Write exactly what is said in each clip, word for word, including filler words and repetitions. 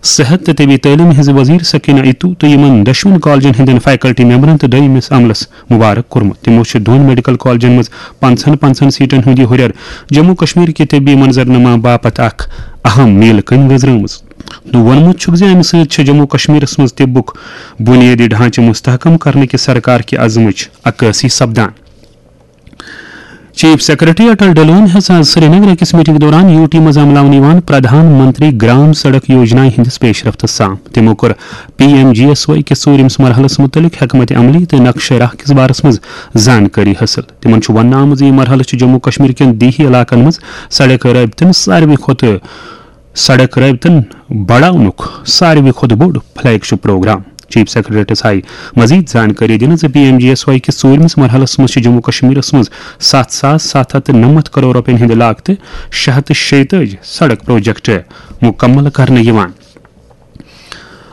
صحت تہٕ طبی تعلیٖم ہٕنٛزِ وزیر سکینہ اتو تہٕ یِمن دۄشوٕنی کالجن ہٕنٛدٮ۪ن فیکلٹی ممبرن تہٕ دوٚیمِس عملس مبارک کوٚرمُت۔ تِمو چھُ دۄن میڈیکل کالجن منٛز پنٛژاہن پنٛژاہن سیٹن ہُنٛد یہِ ہُرٮ۪ر جموں کشمیر کہِ طبی منظرنامہ باپتھ اکھ اہم میل کٔنۍ گٔنزرٲومٕژ تہٕ ووٚنمُت چھُکھ زِ امہِ سۭتۍ چھِ جموں کشمیرس منٛز طبُک بُنیٲدی ڈھانچہٕ مستحکم کرنہٕ کہِ سرکار کہِ عزمٕچ عکٲسی سپدان۔ چیف سیکرٹری اٹل ڈلون ہیٚژ آز سرینگر أکِس میٹنگ دوران یو ٹی منٛز عملاونہٕ یِوان پردھان منتری گرام سڑک یوجنا ہٕنٛدِس پیش رفتس سام۔ تِمو کوٚر P M G S Y کِس ژوٗرِمِس مرحلس مُتعلق حکمت عملی تہٕ نقشہٕ راہ کِس بارس منٛز زانکٲری حٲصِل۔ تِمن چھُ وننہٕ آمُت زِ یہِ مرحلہٕ چھُ جموں کشمیر کٮ۪ن دیہی علاقن منٛز سڑک رٲبطن ساروی کھۄتہٕ سڑک رٲبطن بڑاونُک ساروی کھۄتہٕ بوٚڑ فلیگ شپ پروگرام۔ چیف سیکرٹریٹس آیہِ مزید زانکٲری دِنہٕ زِ P M G S Y کِس ژوٗرمِس مرحلس منٛز چھِ جموں کشمیرس منٛز ستھ ساس ستھ ہتھ تہٕ نَمَتھ کرور رۄپین ہٕنٛدِ لاگتہٕ شےٚ ہتھ تہٕ شیٚیہِ تٲجی سڑک پروجیکٹ مُکمل کرنہٕ یِوان۔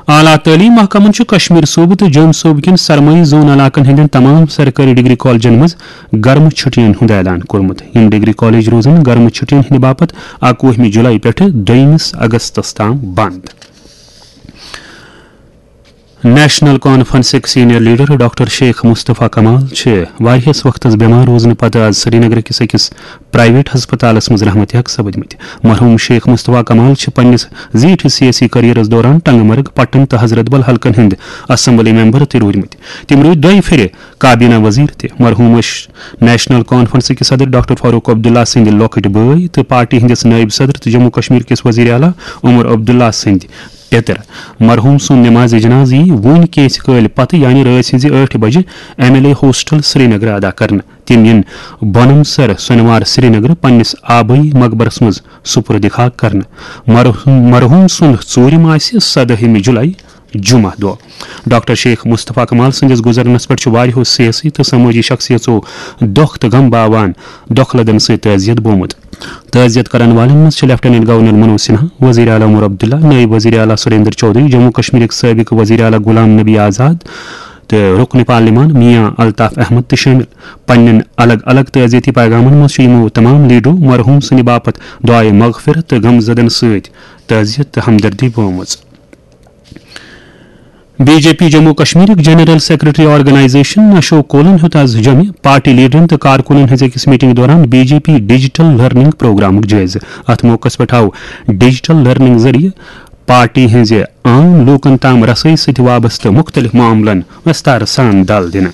اعلیٰ تعلیٖم محکمن چھُ کشمیر صوبہٕ تہٕ جوٚم صوبہٕ کٮ۪ن سرمایہِ زون علاقن ہٕنٛدٮ۪ن تمام سرکٲری ڈگری کالجن منٛز گرمہٕ چھُٹین ہُنٛد اعلان کوٚرمُت۔ یِم ڈگری کالج روزن گرمہٕ چھُٹین ہٕنٛدِ باپتھ اَکوُہمہِ جُلای پٮ۪ٹھٕ دوٚیمِس اگستس تام بنٛد۔ نیشنل کانفرنسٕکۍ senior leader doctor Sheikh Mustafa Kamal چھِ واریاہس وقتس بٮ۪مار روزنہٕ پتہٕ آز سرینگر کِس أکِس پرائیویٹ ہسپتالس منٛز رحمت حق سپدمٕتۍ۔ مرحوم شیخ مصطفیٰ کمال چھِ پننِس زیٖٹھِس سیٲسی کیریئرس دوران ٹنگ مرگ، پٹن تہٕ حضرت بل حلقن ہٕنٛدۍ اسمبلی ممبر تہِ روٗدمٕتۍ۔ تِم روٗدۍ دۄیہِ پھِرِ کابینہ وزیر تہِ۔ مرحوم ٲسۍ نیشنل کانفرنس کِس صدر ڈاکٹر فاروق عبداللہ سٕنٛدِ لۄکٕٹۍ بٲے تہٕ پارٹی ہٕنٛدِس نٲیِب صدر تہٕ جموں کشمیر کِس وزیر اعلیٰ عمر عبداللہ سٕنٛدۍ پیٚتٕر۔ مرحوم سُنٛد نماز جنازٕ یی وُنۍ کینٛژِ کٲلۍ پتہٕ، یعنی رٲژ ہٕنٛزِ ٲٹھِ بجہِ M L A hostel Srinagar ادا کرنہٕ۔ تِم یِن بۄنم سر سۄنوار سرینگر پننِس آبٲیی مقبرس منٛز سپرد خاک کرنہٕ۔ مرحوم، مرحوم سُنٛد ژوٗرِم آسہِ سدٲہِمہِ جُلای، جمعہ دۄہ۔ ڈاکٹر شیخ مصطفیٰ کمال سٕنٛدِس گُزرنس پٮ۪ٹھ چھُ واریاہو سیٲسی تہٕ سمٲجی شخصیژو دۄکھ تہٕ غم باوان دۄکھ لدن سۭتۍ تعزیت بومُت۔ تعزیت کرن والٮ۪ن منٛز چھِ لیفٹیننٹ گورنر منوج سنہا، وزیر اعلیٰ عمر عبداللہ، نٲیِب وزیر اعلیٰ سریندر چودھری، جموں کشمیرٕکۍ سٲبق وزیر اعلیٰ غلام نبی آزاد تہٕ رکن پارلیمان میاں الطاف احمد تہِ شٲمِل۔ پننٮ۪ن الگ الگ تعزیتی پیغامن منٛز چھِ یِمو تمام لیڈرو مرحوم سٕنٛدِ باپتھ دعائے مغفرت تہٕ غم زدن سۭتۍ تعزیت تہٕ ہمدردی بٲومٕژ۔ بی جے پی جموں کشمیرٕکۍ جنرل سیکرٹری آرگنائزیشن اشوک کولن ہیوٚت آز جوٚمہِ پارٹی لیڈرن تہٕ کارکُنن ہٕنٛز أکِس میٹنگ دوران B J P digital learning پروگرامُک جٲیزٕ۔ اتھ موقعس پٮ۪ٹھ آو ڈیجیٹل لرننگ ذٔریعہٕ پارٹی ہٕنٛزِ عام لوٗکن تام رسٲیی سۭتۍ وابستہٕ مُختٔلِف معاملن وِستار سان دل دِنہٕ۔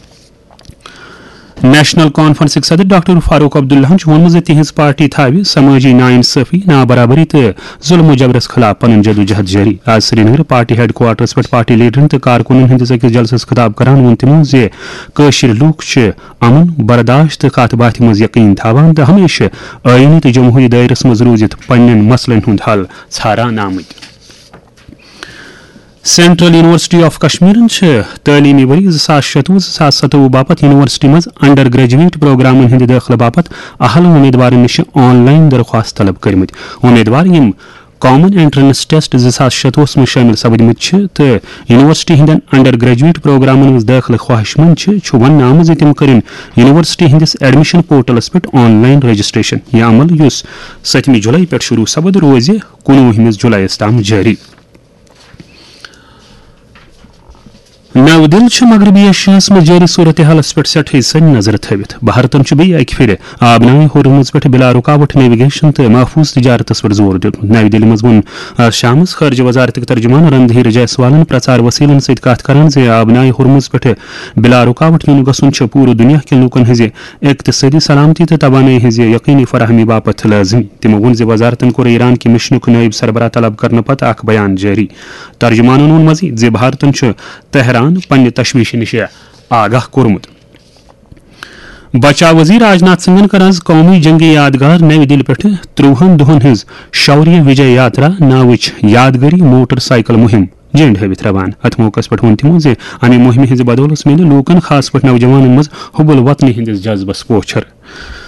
نیشنل کانفرنسٕکۍ صدر ڈاکٹر فاروق عبداللہن چھُ ووٚنمُت زِ تِہنٛز پارٹی تھاوِ سمٲجی ناانصٲفی، نابرابری تہٕ ظلم و جبرس خلاف پنُن جدوجہد جٲری۔ آز سرینگر پارٹی ہیڈ کوارٹرس پٮ۪ٹھ پارٹی لیڈرن تہٕ کارکُنن ہٕنٛدِس أکِس جلسس خطاب کران ووٚن تِمو زِ کٲشِرۍ لوٗکھ چھِ امن، برداشت تہٕ کتھ باتھِ منٛز یقین تھاوان تہٕ ہمیشہِ آئینی تہٕ جمہوری دٲیرس منٛز روٗزِتھ پننٮ۪ن مسلن ہُنٛد حل ژھاران آمٕتۍ۔ سینٹرل یونیورسٹی آف کشمیرن چھِ تعلیمی ؤری زٕ ساس شتوُہ زٕ ساس ستوُہ باپتھ یونیورسٹی منٛز انڈر گریجویٹ پروگرامن ہٕنٛدِ دٲخلہٕ باپتھ اہل امیدوارن نِش آن لائن درخواست طلب کٔرمٕتۍ۔ امیدوار یِم کامن انٹرنس ٹیسٹ زٕ ساس شتوُہس منٛز شٲمِل سپدمٕتۍ چھِ تہٕ یونیورسٹی ہٕنٛدٮ۪ن انڈر گریجویٹ پروگرامن منٛز دٲخلہٕ خواہش مند چھِ، چھُ وننہٕ آمُت زِ تِم کٔرِن یونیورسٹی ہٕنٛدِس ایڈمیشن پورٹلس پٮ۪ٹھ آن لائن رجسٹریشن۔ یہِ عمل، یُس ستمہِ جولائی پٮ۪ٹھ شروع سپد، روزِ کُنوُہمِس جولائیس تام جٲری۔ نو دِل چھِ مغربی ایشیاہَس منٛز جٲری صورتحالَس پٮ۪ٹھ سٮ۪ٹھٕے سنۍ نظر تھٲوِتھ۔ بھارتَن چھُ بیٚیہِ اَکہِ پھِرِ آبنائے ہورمز پٮ۪ٹھ بلا رکاوٹ نیویگیشن تہٕ محفوظ تجارتَس پٮ۪ٹھ زور دیُتمُت۔ نَوِ دِلہِ منٛز ووٚن آز شامَس خارجہ وزارتٕکۍ ترجمان رندھیر جیسوالَن پرچار وسیلن سۭتۍ کتھ کران زِ آبنائے ہورمز پٮ۪ٹھ بلا رکاوٹ یُن گژھُن چھُ پوٗرٕ دُنیا کٮ۪ن لوٗکَن ہٕنٛزِ اقتصٲدی سلامتی تہٕ توانٲیی ہٕنٛزِ یقینی فراہمی باپتھ لٲزمی۔ تِمو ووٚن زِ وزارتَن کوٚر ایران کہِ مشنُک نٲیِب سربراہ طلب کرنہٕ پتہٕ اکھ بیان جٲری۔ ترجمانَن ووٚن مزید زِ بھارتَن چھُ تہران پننہِ تشویشہِ نِش آگاہ کوٚرمُت۔ بچاو وزیر راجناتھ سنگھن کٔر آز قومی جنگی یادگار نَوِ دِلہِ پٮ۪ٹھٕ ترٛوہن دۄہن ہٕنٛز شوریہ وجے یاترا ناوٕچ یادگٲری موٹر سائیکل مُہِم جنڈ ہٲوِتھ روانہٕ۔ اتھ موقعس پٮ۪ٹھ ووٚن تِمو زِ امہِ مُہِمہِ ہٕنٛزِ بدولس میلہِ لوٗکن، خاص پٲٹھۍ نوجوانن، منٛز حب الوطنی ہٕنٛدِس جذبس پوچھر۔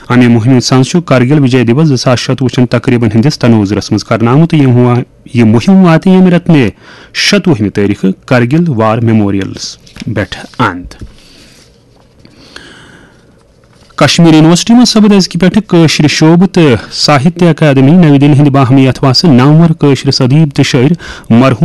امہِ مُہِمہِ ہٕنٛز سَنٛز چھُ کرگل وجے دیوس زٕ ساس شتوُہ چٮ۪ن تقریبن ہٕنٛدِس تنوظرس منٛز کرنہٕ آمُت۔ یِم وا-، یہِ مُہِم واتہِ ییٚمہِ رٮ۪تہٕ مے شتوُہمہِ تٲریخہٕ کرگل وار میموریلس پٮ۪ٹھ اند۔ کشمیر یونیورسٹی منٛز سپد أزکہِ پٮ۪ٹھٕ کٲشرِ شعبہٕ تہٕ ساہتیہ اکادمی نَوِ دِلہِ ہٕنٛدِ باہمی اتھواسہٕ نامور کٲشرِس ادیب تہٕ شٲعر مرحوم